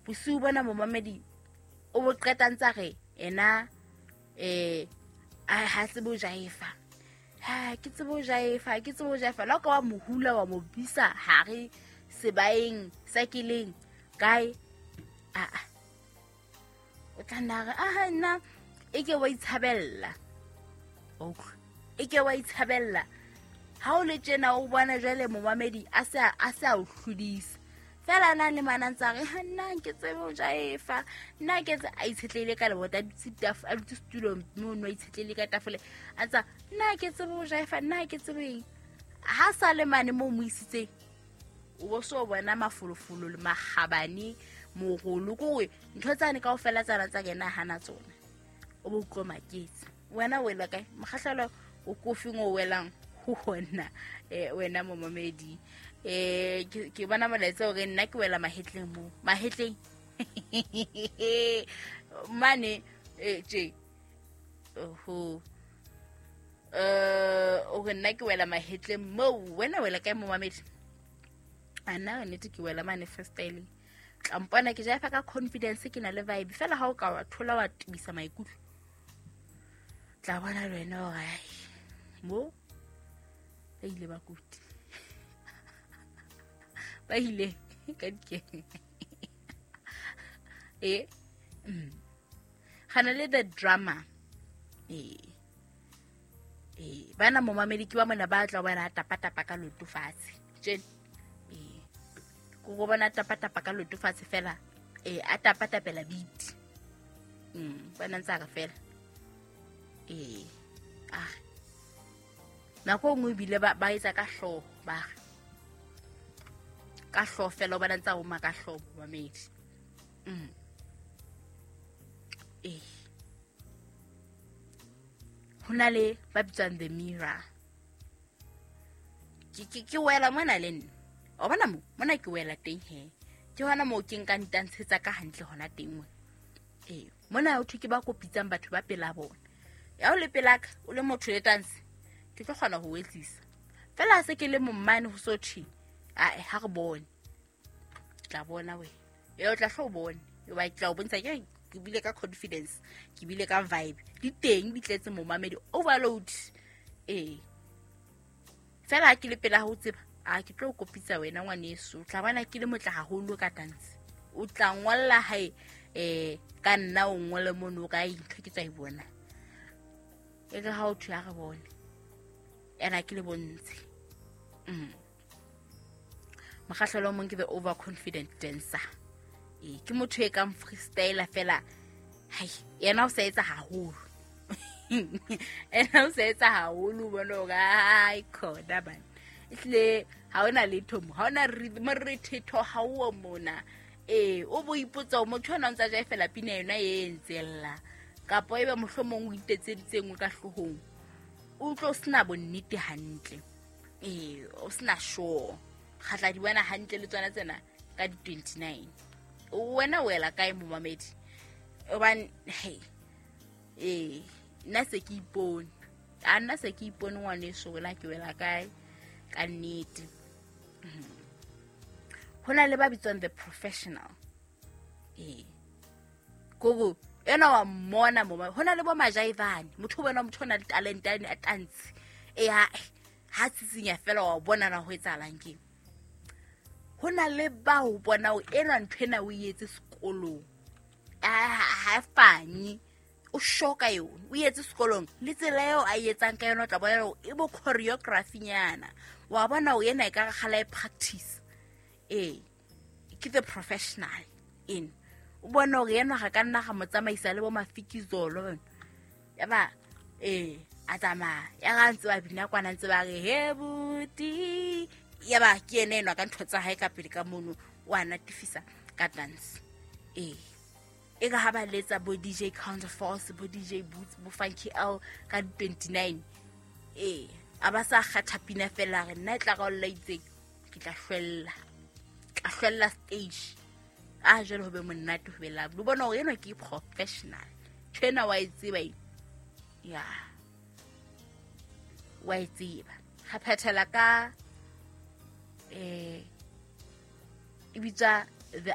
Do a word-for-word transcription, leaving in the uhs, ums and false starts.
Bosiu bona momamedi o bo qeta ntsa re ena eh ha tsebe ho jaefa. Ha ke tsebe ho jaefa, ke tsebe ho jaefa. La ka wa mohula wa mo bisa hare sebaeng sa keleng kae a a o tla nna re aha nna e ke wa itshabella. Okay, e ke wa itshabella. Ha o le tjena o bona jwale momamedi a se a se a o hlodisa. Fela na le mana ntsa re ha nna ke tsebe ho jaefa. Nna ke tse a itshetlehile ka lebota, a dutse taf a dutse setulong moo no a itshetlehile ka tafole. A tsa nna ke tsebe ho jaefa, nna ke tsebe eng. Ha sa le mane moo mo isitseng, o bo so bona mafolofolo le makgabane morolo kore ntho tsane kaofela tsana tsa kena hana tsona. O bo utlwa maketse. Wena o wela kae? Mokgahlelo o kofeng o welang ho hona eh wena momamedi. Eh ke ke bona molaetsa hore nna ke wela mahetleng mo. Mahetleng. Mane eh tje. Oho. Eh o re nna ke wela mahetleng mo. Wena wela kae momamedi? Ana nnete ke wela mane freestyle. Tla mpona ke jaefa ka confidence, ke na le vibe. Fela ha o ka wa thola wa tibisa maikutlo, tla bona le wena hore ai mo ba ile ba kuti. Ba ile ka dikeng. Eh mm. Gana le the drama. Eh eh bana momamedi ke ba mona ba tla bona tapa tapa ka loto fatshe. Tjena eh ko go bona tapa tapa ka loto fatshe fela eh a tapa tapela beat. Mm bana ntsa re fela. Eh ah nako nngwe ebile ba ba etsa ka hlooho, ba re ka hlooho fela o bona ntsa o ma ka hlooho momamedi. Mm eh ho na le ba bitswang the mirror. Ke ke ke wela mona le nna. O bona mo mona ke wela teng he. Ke hona moo ke nkang tantshetsa ka hantle hona teng mona. Eh mona ho thwe ke ba kopitsang batho ba pela bona. Ya o le pelaka o le motho le tanse, ke tlo kgona ho etsisa. Fela ha se ke le mommane ho so thwe, ae ha re bone. Tla bona wena. E o tla hlo bone. E ba tla o bontsha ke ke bile ka confidence, ke bile ka vibe. Di teng di tletse momamedi overload. Eh fela ha ke le pela ho tseba, a ke tlo kopitsa wena ngwaneso. Tla bona ke le motla haholo ka dance. O tla ngolla hae eh ka nna o ngole mono ka ntho ke tsa e bona. E re ha o thwe a re bone. Ena ke le bontshe. Mm. Mokgahlelo o mong ke the overconfident dancer. Eh ke motho e kang freestyler fela. Hai, yena o sa etsa haholo. Ena o sa etsa haholo bona hore ai khona bana. Ehlile ha ona letho mo, ha ona rhythm rethetho ha o mona. Eh o bo ipotsa motho ona o ntsa jae fela pina yona e ntsella. Kapa ebe mohlomong o itetseditse nngwe ka hloohong. O tlo sena bonnete hantle. Eh o sena sure. Kgatla di bona hantle le tsona tsena ka di twenty-nine. Wena o wela kae momamedi? Hobane hey eh nna se ke ipone. A nna se ke ipone ngwaneso wena ke wela kae ka nnete. Ho na le ba bitswang the professional. Eh gogo ena wa mmona mo ho na le bo majaivane. Motho o bona motho o na le talent a tantshe. Eh ha ha tsitsinya fela wa bona na ho etsahalang ke. Ho na le bao bona o ena ntho ena o etse sekolong. Ha fanye o shoka yona o etse sekolong le tsela eo a etsang ka yona o tla bona hore e bo choreography nyana. Wa bona o yena e ka kgala e practice. Eh ke the professional in. O bona hore yena ga ka nna ga mo tsamaisa le bo mafikizolo bana. Ya ba eh a tsamaya ya ga ntse ba bina kwana ntse ba re he buti. Ya ba ke ene enwa ka ntho tsa hae ka pele ka mono o a natifisa ka dance. Eh e ka ha ba letsa bo D J Counterforce, bo D J Boots, bo Funky L ka twenty-nine. Eh a ba sa kgatha pina fela re nna e tla ka o lla itseng ke tla hlwella. Tla hlwella stage. A jwale ho be monate ho be lovely. O bona hore enwa ke professional. Ntho ena wa e tseba e. Ya. Wa e tseba. Ga phethela ka eh e bitswa the